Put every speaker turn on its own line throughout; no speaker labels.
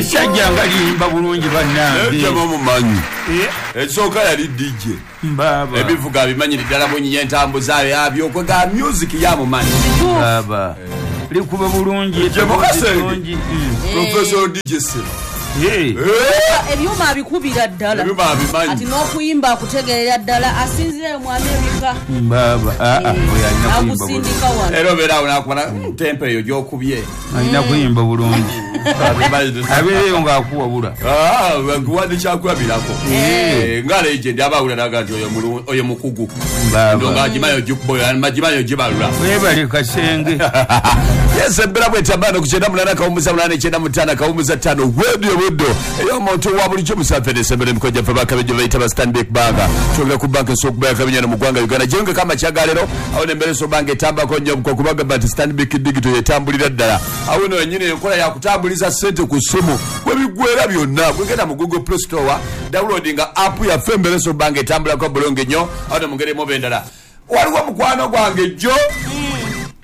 Esajja nga liyimba bulungi bannange.
Tebamumanyi. Ekisooka yali DJ.
Mbaaba.
Ebivuga abimanyiri ddala bunyinya entambuza yabyo okwega music yamumanyi.
Baaba. Likuba bulungi.
Jemo Kasenge.
Bulungi.
Professor DJ C.
Hey.
Ebyuma abikubira ddala.
Ebyuma abimanyi.
Ati n'okuyimba akutegeerera ddala asinzira mu Amerika.
Mbaaba. Oyo alina kuyimba bulungi.
Akusindika wano.
Era obeera awo n'akubala tempo eyo gy'okubye.
Alina kuyimba bulungi. Abeereyo ng'akuwabula.
Nkuwadde kyakulabirako. Nga legend aba awulira n'agamba nti oyo mukugu.
Mbaaba.
Ndo ng'agimanyi ogikuba, agimanyi ogibalula.
Weebale Kasenge.
Yes, embeera bw'etyo abaana ku 98 kawummuza 8 95 kawummuza 5 weediyo buddo ey'omuntu wa bulijjo musanvu Desemba emikono gyaffe bakabejjo bayita ba Stanbic Bank. Twogera ku banka esooka yakabenya mu ggwanga Uganda. Gyeyongeko amakya ga leero awo n'embeera esooka banka etambako nnyo obuko kubagamba nti Stanbic Digital yetambulira ddala. Awo eno yennyini enkola ya kutambuliza ssente ku ssimu bwe biggweera byonna. Bwegenda mu Google Play Store, downloadinga app yaffe embeera esooka banka etambulako bulungi nnyo awo ne mu ngeri emu oba endala. Waliwo mukwano gwange jjo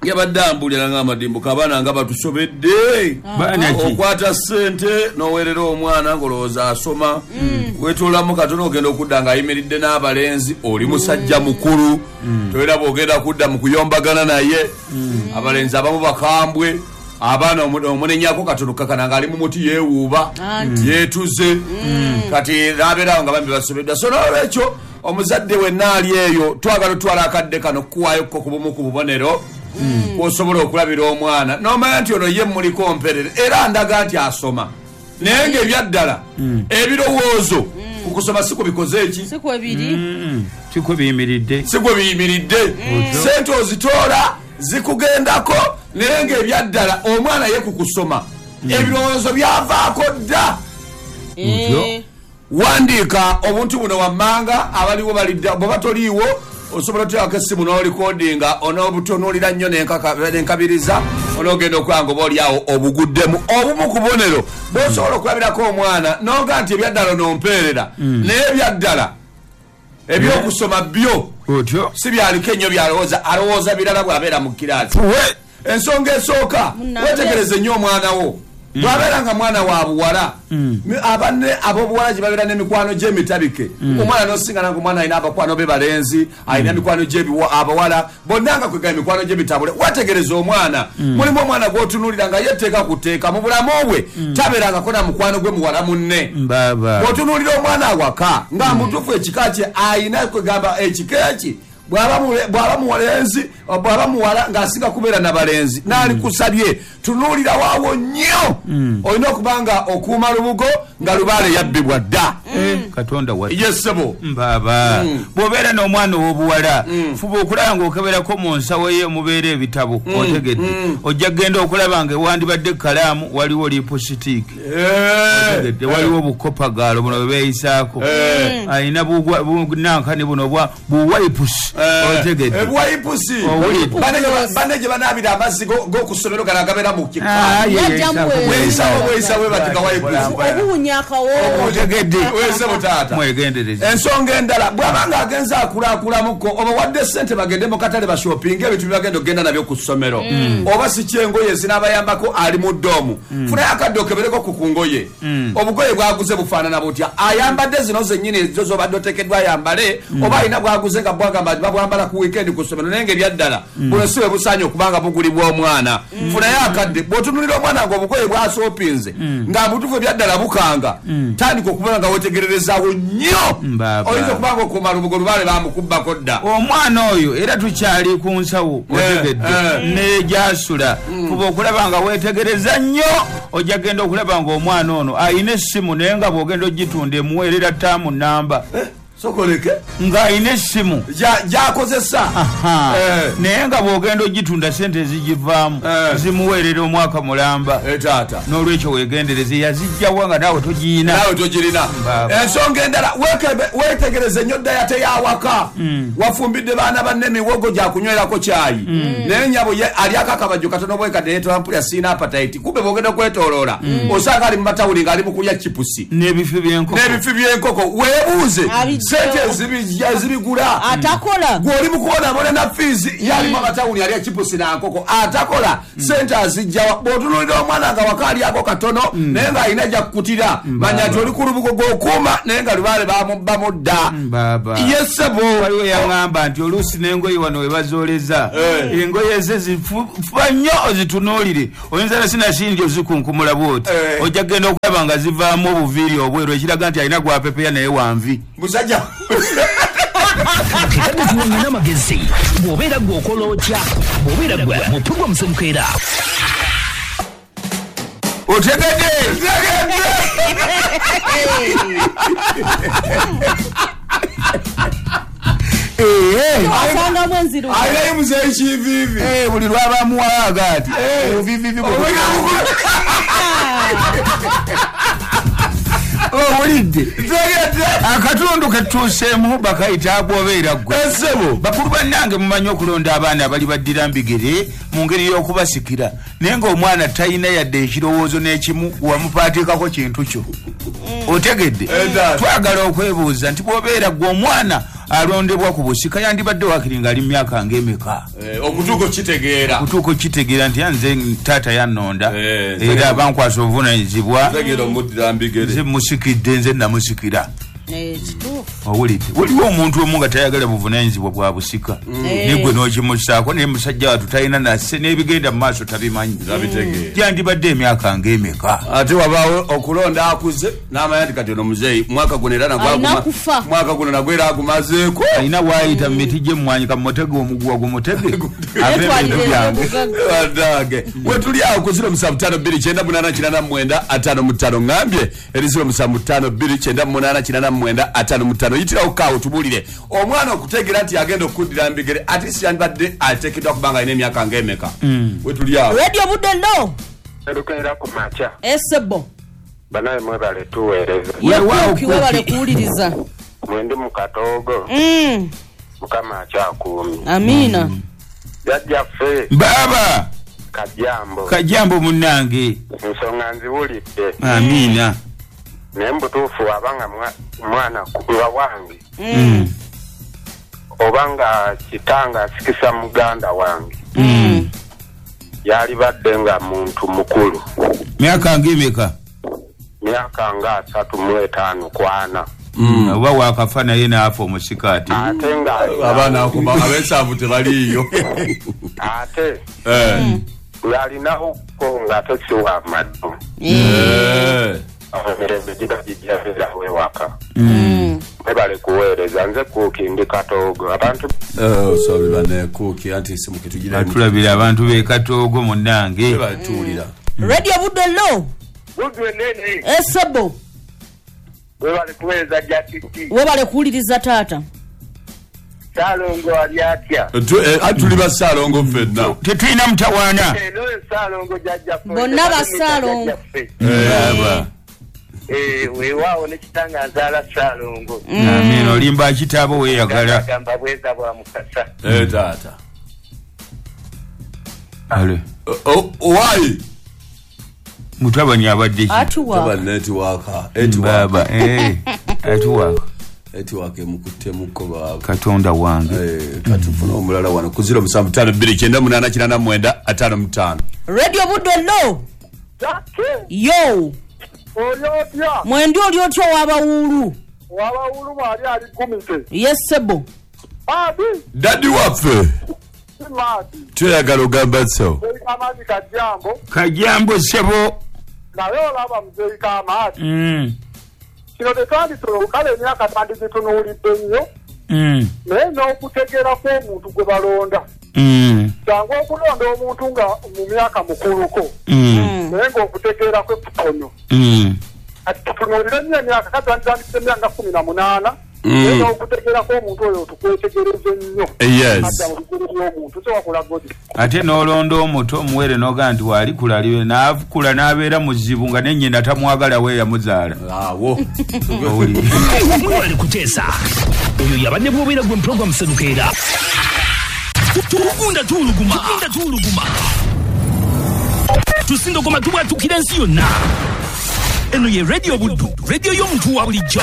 yabadde ambulira ng'amadimbuka abaana nga batusobedde.
Baana ki?
Okwata ssente n'oweerera omwana ng'olowooza asoma. Weetoolamu katono ogenda okudda ng'ayimiridde n'abalenzi, oli musajja mukulu. Tolina bw'ogenda kudda mu kuyombagana naye. Abalenzi abamu bakambwe. Abaana omunenyako katono kakana ng'ali mu muti yeewuuba, yeetuze. Kati n'abeerawo nga bambi basobeddwa. So n'olwekyo omuzadde wenna ali eyo twagala otwala akadde kano kukuwaayokko ku bumu ku bubonero kwosobola okulabira omwana n'omanya nti ono ye muliko mperere era ndaga nti asoma naye ng'ebyaddala ebirowoozo ku kusoma si kubikoze eki
Si kwebiri.
Si kwebiyimiridde.
Si kwebiyimiridde. Ssente ozitoola zikugendako naye ng'ebyaddala omwana ye ku kusoma ebirowoozo byavaako dda. Wandiika obuntu buno wammanga abaliwo balidda bw'oba toliiwo osobola oteekako essimu n'olikodinga onoobutunuulira nnyo n'enkabiriza onoogenda okulaba nga oba oli awo obuguddemu obumu ku bubonero bw'osobola okulabirako omwana n'oga nti ebyaddala onompeerera naye ebyaddala ebyokusoma byo
Otyo.
si byaliko ennyo byalowooza alowooza birala bw'abeera mu kiraasi. Ensonga esooka weetegereze nnyo omwana wo bw'abeera nga mwana wa buwala abanne ab'obuwala gye babeera n'emikwano gy'emitabike omwana n'osingana nga omwana alina abakwano be balenzi alina emikwano gy'ebiwa abawala bonna nga kwegamba emikwano gy'emitabule weetegereze omwana mulimu omwana gw'otunuulira nga yeeteeka ku tteeka mu bulamu bwe tabeerangako na mukwano gwe muwala munne.
Mbaaba.
Bw'otunuulira omwana awaka nga mutuufu ekika kye alina kwegamba ekika eki bw'aba muwalenzi bw'aba muwala ng'asinga kubeera na balenzi n'alikusabye tunuulira waawo nnyo olina okuba nga okuuma lubugo nga lubaale yabbibwa dda.
Katonda wa
Ye ssebo.
Mbaaba. Bw'obeera n'omwana ow'obuwala fuba okulaba ng'okeberako mu nsawo ye omubeera ebitabo otegedde ojja kugenda okulaba nga ewandibadde ekkalaamu waliwo lipusitiiki otegedde waliwo obukopagaalo buno bwe beeyisaako alina bunankani buno bwa buwaipusi otegedde
Obuwayipusi.
Owulidde.
Banne gye banaabira amazzi g'okusomero gano agabeera mu kika.
Yajjamu
Weeyisawo bweyisawo bwe bati gawayipusi.
Obuwunya akawoowo.
Otegedde.
Weesebo taata.
Mwegendereze.
Ensonga endala bw'aba ng'agenze akulaakulamuko obawadde ssente bagende mu katale bashopinge ebintu byebagenda okugenda nabyo ku ssomero oba si kyengoye zinaabayambako ali mu ddoomu funayo akadde okebereko ku ngoye obugoye bwaguze bufaanana butya ayambadde zino zennyini ezo z'obadde oteekeddwa ayambale oba alina bwaguze nga bwagamba nti babwambala ku wiikendi ku ssomero naye ng'ebyaddala buno si bwe busaanye okuba nga bugulibwa omwana. Funayo akadde bw'otunuulira omwana ng'obugoye bw'asoopinze nga butuufu ebyaddala bukanga tandika okubona nga weetegererezaawo nnyo.
Mbaaba.
Oyinza okuba nga okuuma lubugo lubaale bamukubbako dda.
Omwana oyo era tukyali ku nsawo otegedde n'egyasula fuba okulaba nga weetegereza nnyo ojja kugenda okulaba ng'omwana ono alina essimu naye nga bw'ogenda ogitunda emuweerera ttaamu namba.
Sokoleke.
Ng'alina essimu
Gy'akozesa.
Naye nga bw'ogenda ogitunda ssente ezigivaamu zimuweerera omwaka mulamba.
Taata.
N'olwekyo weegendereze yazijjawa nga naawe togiyina.
Naawe togirina.
Mbaaba.
Ensonga endala weetegereze nnyo ddaya teyawaka wafumbidde baana banne emiwogo gyakunywerako kyayi naye nyabo ye alyako akabajjo katono bwekadde yeetwala mpulira siina appetite kumbe bw'ogenda okwetooloola osanga ali mu matawuli ng'ali mu kulya chipusi
n'ebifi by'enkoko
n'ebifi by'enkoko weebuuze
Abijja.
Sente ezibigula.
Atakola.
Gwe oli mukubonaabona na fiizi yalimu amatawuni alya chipusi na nkoko. Atakola sente azijja. Bw'otunuulira omwana nga waka alyako katono naye ng'alina gy'akkutira. Manya nti oli ku lubugo gw'okuuma naye nga lubaale bamudda. Ye ssebo.
Waliwo yaŋŋamba nti oluusi n'engoye wano we bazooleza. Engoye ze zifuba nnyo ozitunuulire. Oyinza sinasindi ozikunkumula bw'oti. Ojja kugenda okulaba nga zivaamu obuviiri obweru ekiraga nti alina gwapepeya naye wanvi.
Musajja.
Tuwangana amagezi. Bw'obeera gwe okola otya? Bw'obeera gwe mu pulogulaamu Ssemukeera.
Otegedde!
Asangamu enziru.
Alinayo muzeeyi kiviivi.
Buli lwaba muwala ati obuviivi bwe. Owulidde. Akatundu ketuuseemu bakayita bw'obeera ggwe.
Essebo.
Bakulu bannange mumanyi okulonda abaana abali baddira mbigere mu ngeri y'okubasikira. Naye ng'omwana talina yadde ekirowoozo n'ekimu wamupaatiikako kintu kyo. Otegedde. Twagala okwebuuza nti bw'obeera ggwe omwana alondebwa ku busika yandibadde waakiri ng'ali mu myaka ng'emeka.
Okutuuka okitegeera.
Okutuuka okitegeera nti nze taata yannonda era bankwasa obuvunaanyizibwa. Nze musikidde nze namusikira. Owulidde. Waliwo omuntu omu nga tayagala buvunaanyizibwa bwa busika. Naye gwe n'okimussaako naye musajja wattu talina nase n'ebigenda mu maaso tabimanyi. Yandibadde emyaka ng'emeka.
Ate wabaawo okulonda akuze n'amanya nti kati ono muzeeyi mwaka guno era mwaka guno nagwo era agumazeeko.
Alina waayita mu miti gy'emmwanyi kamutege omuguwa gumutege. Ave ebintu byange.
Bannange. We tuli awo ku 075 298 89 55 ŋŋambye eri 075 298 89 55 yitirawo kaawo tubuulire omwana okutegeera nti agenda okuddira mbigere ate si yandibadde ateekeddwa kuba nga alina emyaka ng'emeka. We tuli awo.
Radio Buddo.
Erukeera ku makya.
Essebo.
Banaye mwebale tuweereza.
Weewaawo webale kuwuliriza.
Mwendi mu Katoogo. Mukama akyakuumye.
Amiina.
Jjajjaffe.
Baaba.
Kajambo.
Kajambo munnange.
Ensonga nziwulidde.
Amiina.
Naye mbutuufu abanga mwana kuba wange. Obanga kitanga asikisa muganda wange. Yalibadde nga muntu mukulu.
Myaka ng'emeka?
Myaka nga 35 ku 40.
Oba wakafa naye n'afa omusika ate.
Ate nga
abaana abeesaavu tebaliiyo.
Ate yalinawo ko nga tosiwa maddu. Emirembe giba gijja ewaka. Mwebale kuweereza nze Kuuki ndi Katoogo. Abantu
sorry bane Kuuki anti simu kitugira.
Atulabira abantu b'e Katoogo munnange.
Batuwulira.
Radio Buddo lo.
Buddo nene.
Essebo.
Webale kuweereza Jatiti.
Webale kuwuliriza taata.
Ssalongo ali atya?
Tuli ba Ssalongo ffenna.
Tetulina mutawaana.
Ssalongo jjajjaffe.
Bonna ba Ssalongo.
Weewaawo ne kitanga nzaala Ssalongo.
Amiina olimba kitaabo weeyagala.
Agamba bweza bwa Mukasa.
Taata.
Ale.
Why?
Mutabani abadde ki?
Mutabani netiwaaka.
Baba, atuwaaka.
Etiwaaka emukuttemuko baaba.
Katonda wange.
Katufune omulala wano ku 075 298 89 55.
Radio Buddo lo. Yo.
Oli otya?
Mwendi oli otya wabawulu?
Wabawulu mwali ali gumite.
Yes sebo.
Abi.
Daddy waffe. Tweyagala ogamba so.
Amazi Kajambo.
Kajambo sebo.
Naye olaba muzeeyi Kamaati. Kino tetwanditulo kale emyaka tanditunuulidde nnyo. Naye n'okutegeera kw'omuntu gwe balonda. Kyangu okulonda omuntu nga mu myaka mukuluko. Naye ng'okutegeera kwe kutono. Kati tutunuulire nnyo emyaka kati twanditandikise emyaka 18. Naye n'okutegeera kw'omuntu oyo tukwetegereze nnyo.
Yes.
Ate n'olonda omuto omuwere n'ogaa nti waalikula aliwe n'akula n'abeera muzibu nga ne nnyina tamwagala we yamuzaala.
Awo.
Mwebale kuteesa. Oyo yabadde bw'obeera gwe mu Ssemukeera. Tugunda tuwuluguma. Tugunda tuwuluguma. Tusindogoma tubwatukira ensi yonna. Eno ye Radio Buddu, radio y'omuntu wa bulijjo.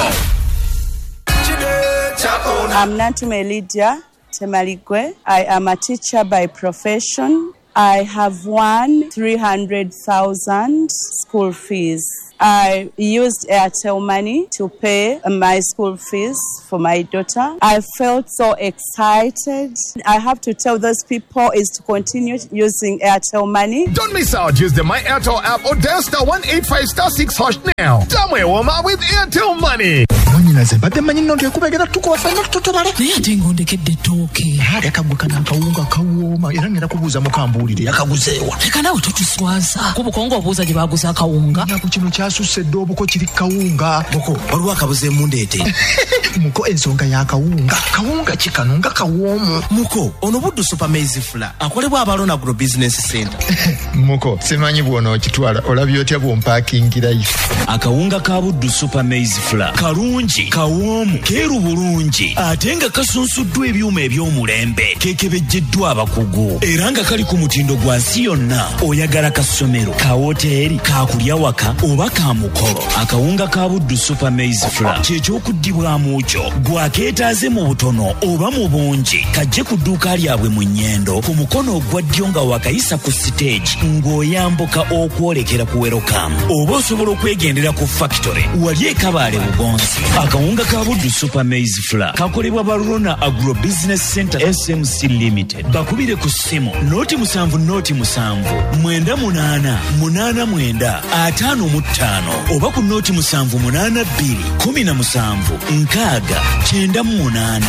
I'm Nantume Lydia Temaligwe. I am a teacher by profession. I have won 300,000 school fees. I used Airtel Money to pay my school fees for my daughter. I felt so excited. I have to tell those people is to continue using Airtel Money.
Don't miss out. Use the My Airtel app or dial *185*6# now. Tamwewoma with Airtel Money.
Mwanyinaze mbadde mmanyi nno nti ekubegera tukuwa ffenna tutotobale.
Naye ate ng'ondekedde ettooke.
Ate akaggwa kano akawunga kawooma era ngenda kubuuza mukambuulire yakaguzeewa.
Leka naawe totuswaza. Ku Bukongo obuuza gye baguza akawunga.
Naku kino kyasusse dda obuko kiri kawunga.
Muko waliwo akabuze emundeete.
Muko ensonga y'akawunga. Kawunga ki kano nga kawoomu.
Muko ono Buddu Super Maize Flour akolebwa Abalona Agro Business Center.
Muko simanyi bw'onookitwala olabye otya bw'ompaakingirayo.
Akawunga ka Buddu Super Maize Flour kalungi, kawoomu, keeru bulungi ate nga kasunsuddwa ebyuma eby'omulembe, kekebejjeddwa abakugu era nga kali ku mutindo gwa nsi yonna. Oyagala kasomero, ka woteeri, kakulya waka oba ka mukolo, akawunga ka Buddu Super Maize Flour kyekyokuddibwamu kyo. Gwakeetaaze mu butono oba mu bungi, kajje ku dduuka lyabwe mu Nnyendo ku mukono ogwa ddyo nga wakayisa ku siteegi ng'oyambuka okwolekera ku Welcome, oba osobola okwegendera ku factory wali e Kabaale Bugonzi. Akawunga ka Buddu Super Maize Flour kakolebwa Balona Agro Business Center SMC Limited. Bakubire ku ssimu 07 07 98 89 55 oba ku 07 82 17 60 98.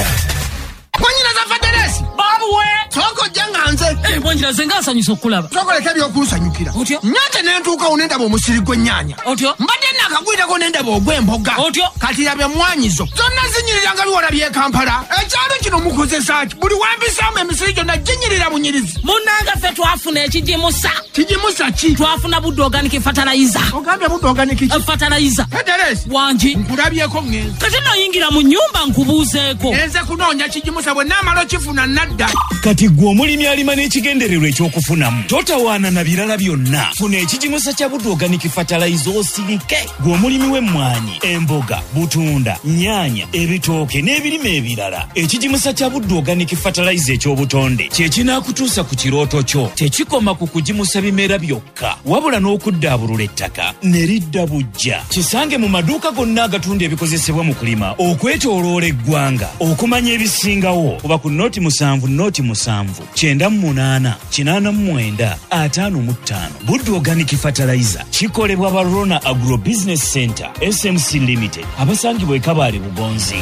Mwanyinaza Federesi
babuwe
soko janga nze.
Mwanyinaze nga nsanyusa okulaba.
Sokoleka ebyokunsanyukira.
Otyo?
Nyate ne ntuukawo ne ndaba omusiri gw'ennyaanya.
Otyo?
Mbadde naakagwirako ne ndaba ogw'emboga.
Otyo?
Kati laba emmwanyizo zonna zinyirira nga biwala by'e Kampala. Ekyalo kino mukozesa ki? Buli wampisaamu emisiri gyonna ginyirira bunyirizi.
Munnange ffe twafuna ekigimusa.
Kigimusa ki?
Twafuna Buddu Organic Fertilizer.
Ogambye Buddu Organic ki?
Fertilizer.
Federesi.
Wangi.
Nkulabyeko ŋŋenze.
Kati nno yingira mu nnyumba nkubuuzeeko.
Nze kunoonya kigimusa bwe naamala okifuna nadda.
Kati gwe omulimi alima n'ekigendererwa ekyokufunamu, totawaana na birala byonna. Funa ekigimusa kya Buddu Organic Fertilizer osirike. Gwe omulimi w'emmwanyi, emboga, butunda, nnyaanya, ebitooke n'ebirime ebirala, ekigimusa kya Buddu Organic Fertilizer eky'obutonde kye kinaakutuusa ku kirooto kyo. Tekikoma ku kugimusa bimera byokka, wabula n'okuddaabulula ettaka ne lidda buggya. Kisange mu maduuka gonna agatunda ebikozesebwa mu kulima okwetooloola eggwanga. Okumanya ebisingawo kuba ku 07 07 98 89 55. Buddu Organic Fertilizer kikolebwa Balona Agro Business Center SMC Limited, abasangibwa e Kabaale Bugonzi.